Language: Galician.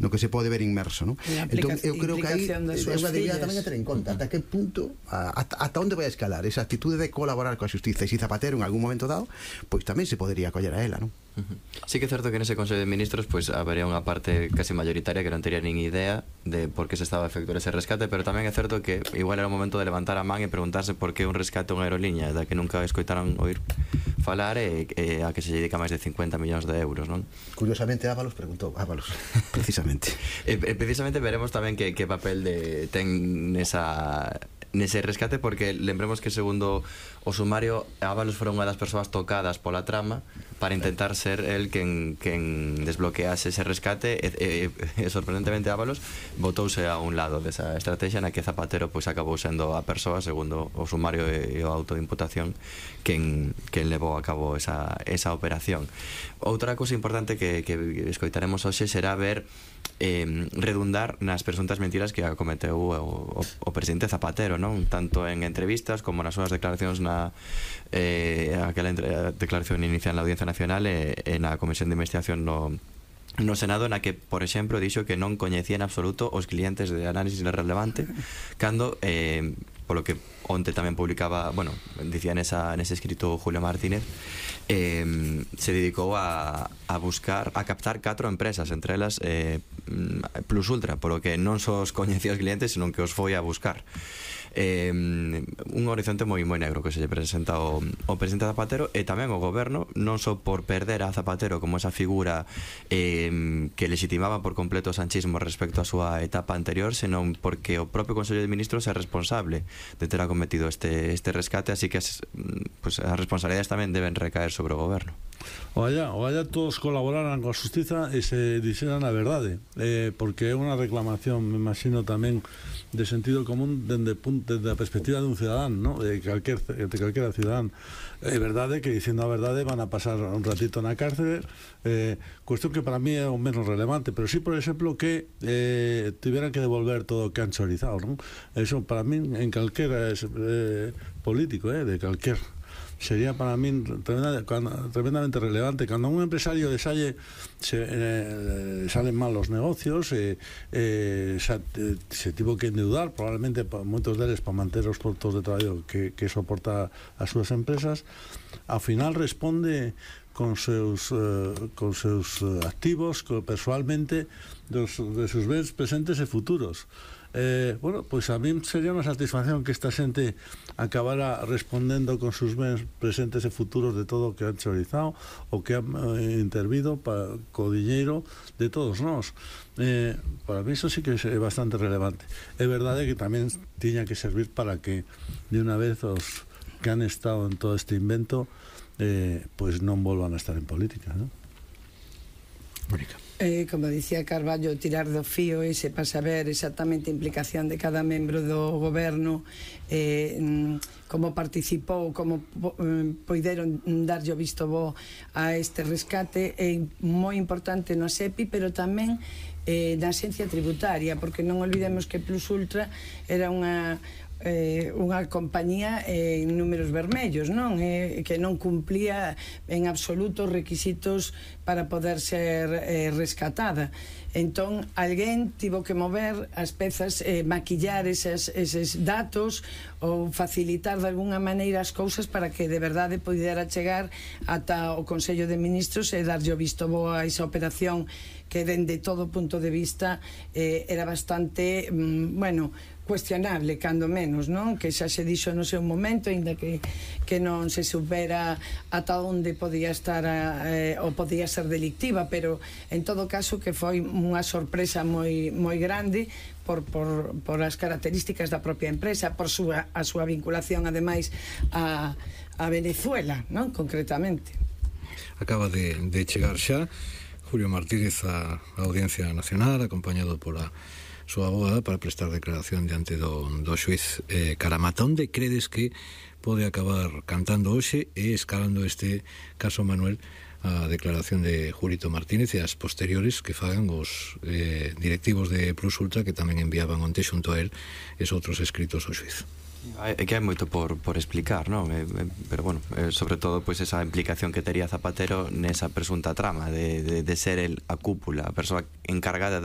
no que se pode ver inmerso, non? Entón, eu creo que aí debería tamén a ter en conta ata que punto, ata onde vai a escalar esa actitude de colaborar coa xustiza, e se Zapatero en algún momento dado, pois tamén se podería coller a ela, non? Sí que é certo que nese Consello de Ministros pois habería unha parte casi mayoritaria que non tería nin idea de por que se estaba a efectuar ese rescate, pero tamén é certo que igual era o momento de levantar a man e preguntarse por que un rescate a unha aeroliña da que nunca escoitaron oír falar e a que se dedica máis de 50 millóns de euros, non? Curiosamente Ábalos preguntou, precisamente. Precisamente veremos tamén que papel ten nese rescate, porque lembremos que segundo o sumario Ábalos foi unha das persoas tocadas pola trama para intentar ser el quen desbloquease ese rescate e sorprendentemente Ábalos botouse a un lado desa estrategia na que Zapatero pois acabou sendo a persoa, segundo o sumario e o auto de imputación, quen levou a cabo esa operación. Outra cousa importante que escoitaremos hoxe será ver redundar nas presuntas mentiras que acometeu o presidente Zapatero, non? Tanto en entrevistas como nas súas declaracións aquela declaración inicial na Audiencia Nacional e na Comisión de Investigación no Senado, na que, por exemplo, dixo que non coñecía en absoluto os clientes de análisis relevante, cando polo que onte tamén publicaba, bueno, dicía nese escrito Julio Martínez, se dedicou a buscar, a captar 4 empresas, entre elas Plus Ultra, polo que non só os coñecía os clientes, senón que os foi a buscar. Un horizonte moi negro que se lle presenta o presidente Zapatero, e tamén o goberno, non só por perder a Zapatero como esa figura que legitimaba por completo o sanchismo respecto á súa etapa anterior, senón porque o propio Consello de Ministros é responsable de ter acometido este rescate, así que as responsabilidades tamén deben recaer sobre o goberno. Oalla todos colaboraran coa xustiza e se dixeran a verdade, porque é unha reclamación, me imagino tamén de sentido común dende a perspectiva dun cidadán, ¿no? de calquera cidadán. É verdade que dicindo a verdade van a pasar un ratito na cárcere, cuestión que para mí é o menos relevante, pero sí, por exemplo, que tiveran que devolver todo o que han chorizado, ¿no? Eso para mí en calquera político, de calquer sería para mí tremendamente relevante. Cando a un empresario salen mal os negocios, se tivo que endeudar probablemente moitos deles para manter os postos de traballo que soporta as súas empresas, ao final responde con seus activos persoalmente de seus bens presentes e futuros. Bueno, pois a mí sería unha satisfacción que esta xente acabara respondendo con sus bens presentes e futuros de todo o que han chorizado o que han intervido co diñeiro de todos nós. Para mí eso sí que é bastante relevante. É verdade que tamén tiña que servir para que de unha vez os que han estado en todo este invento pois non volvan a estar en política, non? Mónica. Como dicía Carballo, tirar do fío ese para saber exactamente a implicación de cada membro do goberno, como participou, como poideron darlle o visto bo a este rescate, é moi importante no SEPI, pero tamén na Axencia Tributaria, porque non olvidemos que Plus Ultra era unha compañía en números vermellos, non? Que non cumplía en absoluto os requisitos para poder ser rescatada. Entón, alguén tivo que mover as pezas, maquillar eses datos ou facilitar de alguna maneira as cousas para que de verdade pudera chegar ata o Consello de Ministros e darlle o visto bo a esa operación que dende todo punto de vista era bastante, cuestionable, cando menos, non? Que xa se dixo no seu momento, ainda que non se supera ata onde podía estar ou podía ser delictiva, pero en todo caso que foi unha sorpresa moi grande por as características da propia empresa, por a súa vinculación ademais a Venezuela, non? Concretamente. Acaba de chegar xa Julio Martínez á Audiencia Nacional, acompañado por a súa abogada para prestar declaración diante do xuiz Caramata. Onde credes que pode acabar cantando hoxe e escalando este caso, Manuel, a declaración de Julito Martínez e as posteriores que fagan os directivos de Plus Ultra, que tamén enviaban onte xunto a él esos outros escritos ao xuiz? É que hai moito por explicar, non? Pero bueno, sobre todo pois esa implicación que tería Zapatero nesa presunta trama de ser el a cúpula, a persoa encargada de